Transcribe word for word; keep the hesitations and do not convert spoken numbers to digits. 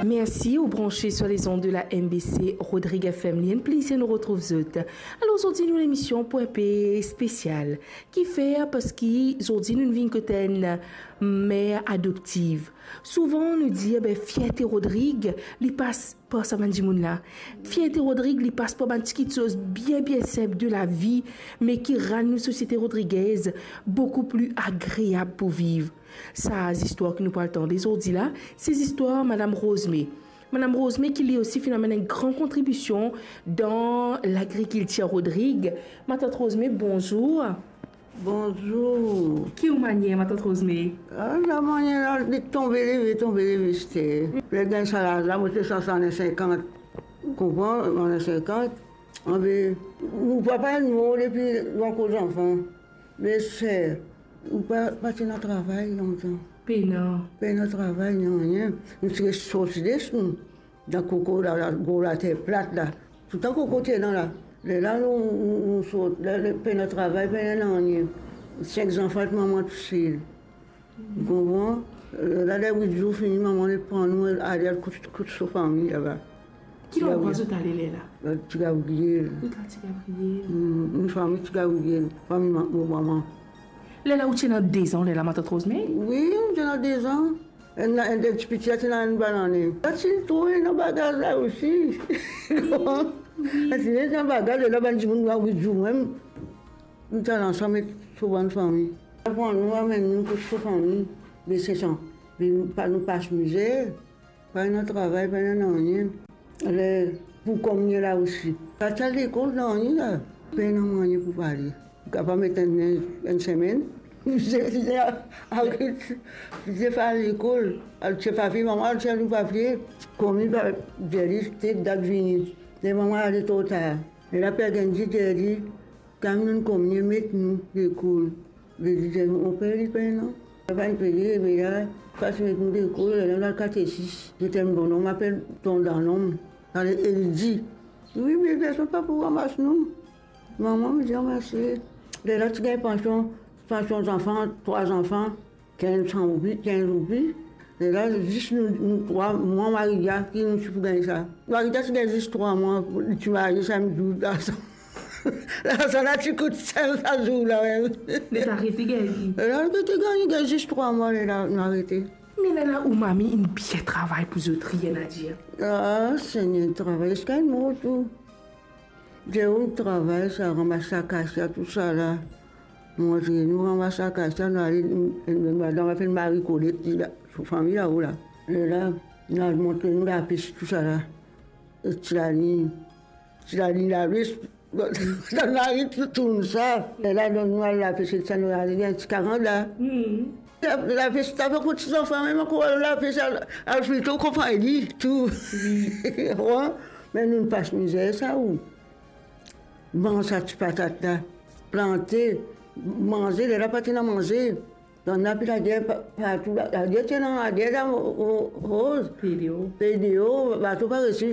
Mersi, ou branche sur les ondes de la M B C Rodrigues F M. Li enn plezir nou retrouv zot. Alor, zordi nou lemision pou enpe spesial. Kifer? Parski zordi nou vinn kot enn mer adoptiv. Souvan nou dir, be, fierte Rodrig, li pas par sa bann dimoun la. Fierte Rodrig, li pas par bann ti kitsoz bien, bien sinp de lavi, me ki rann nou sosiete rodrigez boukou pli agreab pou viv. Sa zistwar ki nou pou al tande zordi la, se zistwar Madam Rose May. Madam Rose May ki li osi finn amenn enn gran kontribision dan lagrikiltir Rodrig. Matant Rose May, bonzour. Bonzour. Ki ou manier, Matant Rose May? Ah, la manier la, li tonbe leve, tonbe leve, sete. Le gagn sa laz la, mo ti swasann-sinkant. Ou konpran, swasann-sinkant. Anbe, nou papa inn mor depi nou ankor zanfan. Me ser, nou pa, pa ti ena travay lontan. Pena. Pena travay, nanye. Nou ti res sorti de nou. Dan koko la, la, gro later plat la. Toutan koko ti ena la. Lerla nou, nou, nou sort, la, la, pena travay, pena nanye. Sink zanfan, mama tousel. Ou konpran? Lerla, ler wit zour fini, mama inn pran nou, ale al kot, kot so fami laba. Ki landrwa zot ale lerla? Ti Gabriel. Kot la Ti Gabriel? Hmm, nou fami Ti Gabriel, fami ma-, mo mama. Lerla ou ti ena dezan, lerla, Matant Rose May? Wi, nou ti ena dezan. Enn, enn, enn ti piti la ti ena enn banane. La ti trouv ena bagaz la osi. Wi, wi. La ti ena bagaz, lerla bann dimoun la, wit zour mem. Nou ti al ansam ek so bann fami. Pran nou, amenn nou kot so fami, be se sa. Be nou pa, nou pas mizer. Pa ena travay, pa ena nanye. Ler pou kominien la osi. Pa ti al lekol, nanye la. Pena nanye pou pale. Ou kapav met enn, enn semenn. Ou ti, ti, ti, aret, ti pa al lekol. Al tir papie, mama al tir nou papie. Komin pa, dir li, tet dat vini. Ler mama ale tro tar. Lerla per Genndy dir li, Kan nou kominien met nou lekol, li dir, mo per li pena. Papa inn peye, me la, pa ti met nou lekol, lerla nou al katesis. Zot enn bonom apel Ton Danom, ale Eldi. Wi, me personn pa pou ramas nou. Mama, mo dir, ramas li. Lerla ti gagn pansion, pansion zanfan, trwa zanfan. Kinz san roupi, kinz roupi. Lerla, zis nou, nou trwa, mwa, Maria, ki nou ti pou gagn sa. Maria ti gagn zis trwa mwa, li ti marie, sa mem zour larzan. Larzan la ti kout ser sa zour la mem. Li ti arete gagn li. Lerla, li ti gagn, gagn zis trwa mwa, lerla, nou arete. Me lerla, ou mami inn bien travay pou zot, rien à dire. Ah, Segner, travay ziska inn mor tou. Dir ou travay sa, ramas akasia, tousala. Montre nou ramas akasia, nou ale, enn, enn madam apel Marie Colette, li la, so fami lao la. Lerla, nou al montre nou lapes, tousala. E ti laliny, ti laliny lapes, dan lari tou, tourn sa. Lerla, donn nou al lapes, sa nou ale, gagn ti karant la. Hmm. La, lapes, ta pa kot ti zanfan mem ankor al lapes, al, al frito konpagni, tou. Wi. Wi. Me nou pas mizer sa ou. Manz sa ti patat la, plante, manze, lerla pa ti ena manze. Dan lapi lager pa-, partou, la, lager ti ena, lager la, o, o, roz. P D O. P D O, bato pa resi.